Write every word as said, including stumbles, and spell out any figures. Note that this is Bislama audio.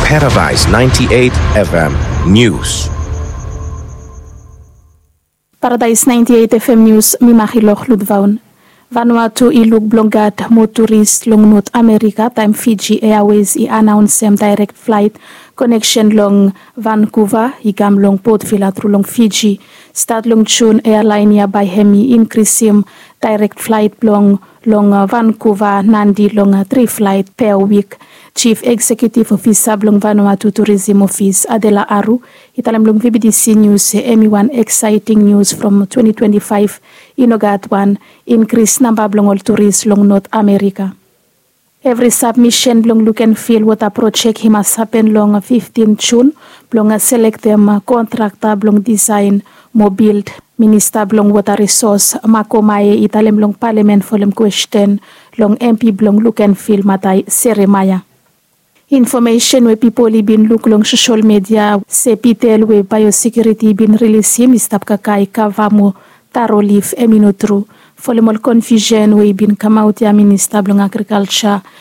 Paradise ninety-eight F M News. Paradise ninety-eight F M News, mi Marilok Ludvaun. Vanuatu i luk blong gat moa turis long Not Amerika taem Fiji Airways i anaonsem daerek flaet koneksen long Vankuva i kam long Port Vila tru long Fiji. Stat long Jun, ealaen ya bae hem i inkrisim daerek flaet blong long Vankuva nandi long tri flaet pe wik. Jif Eksekiutiv Ofisa blong Vanuatu Turisim Ofis, Adela Aru, i talem long V B T C Nius se hem i wan eksaeting nius from twenti twenti faef i no gat wan inkris namba blong ol turis long Not Amerika. Evri sabmisen blong luk en fil wota projek i mas hapen long fiftin Jun blong selektem kontrakta blong disaen mo bild. Minista blong Wota Risos, Mako Mae, i talem long palamen folem kwesten long M P blong luk en fil, Matai Seremaea. Infomesen we pipol i bin luk long sosol midia se pitel we Baeosekiuriti i bin rilisim i stap kakae kava mo taro lif, hem i no tru. Folem ol konfiusen we i bin kamaot ya, Minista blong Agrikalja,